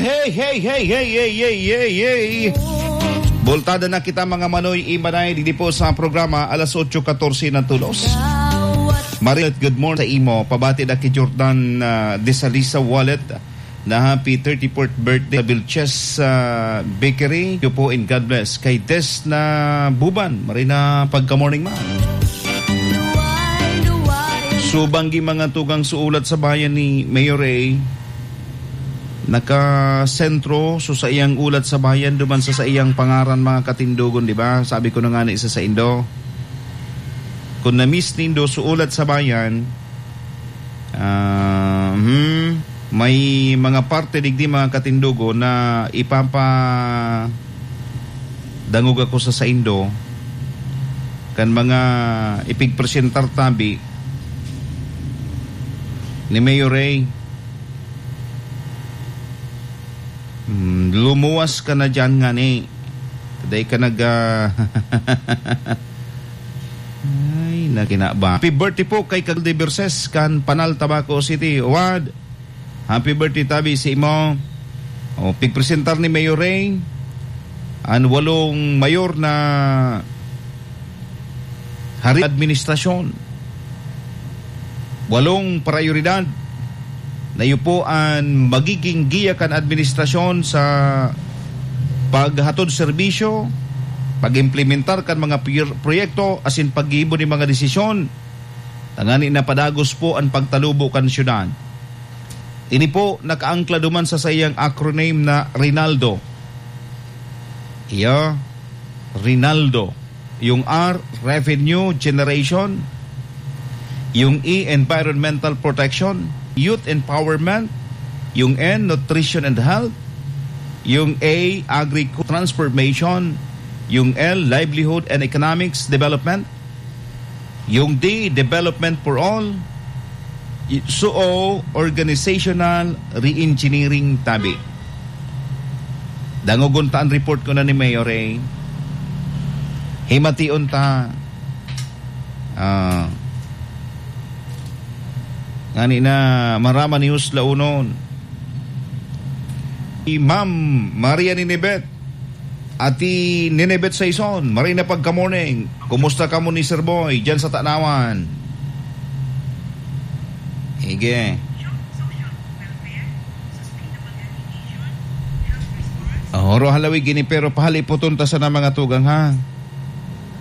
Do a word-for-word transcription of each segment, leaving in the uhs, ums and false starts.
Hey, hey, hey, hey, hey, hey, hey, hey. Bultada na kita, mga manoy, imanay, digdi po sa programa, alas otso katorse na tulos. Marit, good morning sa imo. Pabati na ki Jordan, ah, Desalisa Wallet na happy thirty-fourth birthday sa Vilches, ah, Bakery. Iyo po and God bless. Kay Des na Buban, marina pagka-morning, ma'am. Subanggi mga tugang suulat sa bayan ni Mayor Ray. Nakasentro so saiyang ulat sa bayan duman sa saiyang pangaran, mga katindogon, di ba? Sabi ko na nga na isa sa indo. Kung na-miss nindo so ulat sa bayan, ah, hmm, may mga parte digdi, mga katindogon, na ipapa dangog ako sa saindo kan mga ipigpresentar tabi ni Mayor Ray. Hmm, lumuwas ka na dyan ngani. Dai ka nag, ah, ay, nakinaba. Happy birthday po kay Kagul de Verses kan Panal, Tabaco City. Wad, happy birthday tabi sa imo. O, pigpresentar ni Mayor Ray an walong mayor na hari administrasyon. Walong prayoridad na iyo po an magiging giya kan administrasyon sa paghatod serbisyo, pag-implementar kan mga pier-, proyekto asin paggibo nin mga desisyon, tangani na padagos po an pagtalubo kan syudad. Ini po nakaangkla duman sa saiyang acronym na Rinaldo. Iyo, Rinaldo. Yung R, revenue generation. Yung E, environmental protection. Youth empowerment. Yung N, nutrition and health. Yung A, agriculture transformation. Yung L, livelihood and economics development. Yung D, development for all. Y-, so, organizational re-engineering tabi. Dangogon ta an report ko na ni Mayor, eh. Himation ta. Ah. Ngani na marama ni Husla unon. Si Ma'am Maria Ninibet. Ati Ninibet Saison, marhay na pagka-morning. Kumusta kamo ni Sir Boy dyan sa Tanawan? Sige. Oh, ro halawig ini, pero pahalipoton ta sana mga tugang, ha?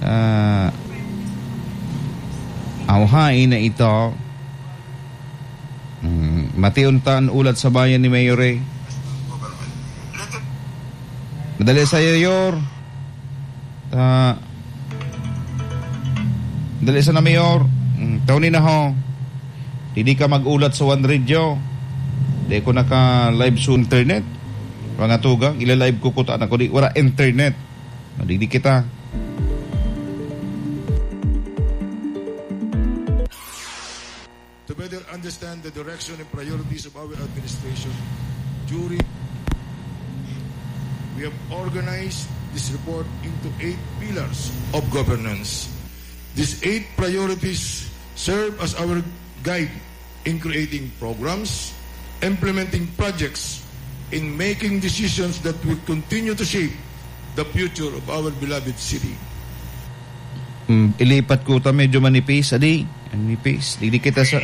Ah, awhay na ito. Hmm, mation ta an ulat sa bayan ni Mayor, eh. Madali sa iyo, Yor. Ah, dali sana, Mayor. Hmm, Tony na ho. Didi ka mag-ulat sa One Radio. Di ko naka-live sa internet. Mga tugang, ila-live ko kuta na ko. Di, wala internet. Madigdi kita. To better understand the direction and priorities of our administration during, we have organized this report into eight pillars of governance. These eight priorities serve as our guide in creating programs, implementing projects, in making decisions that will continue to shape the future of our beloved city. Mm, ilipat ko ta, medyo manipis, adi. Manipis. Di, di kita sa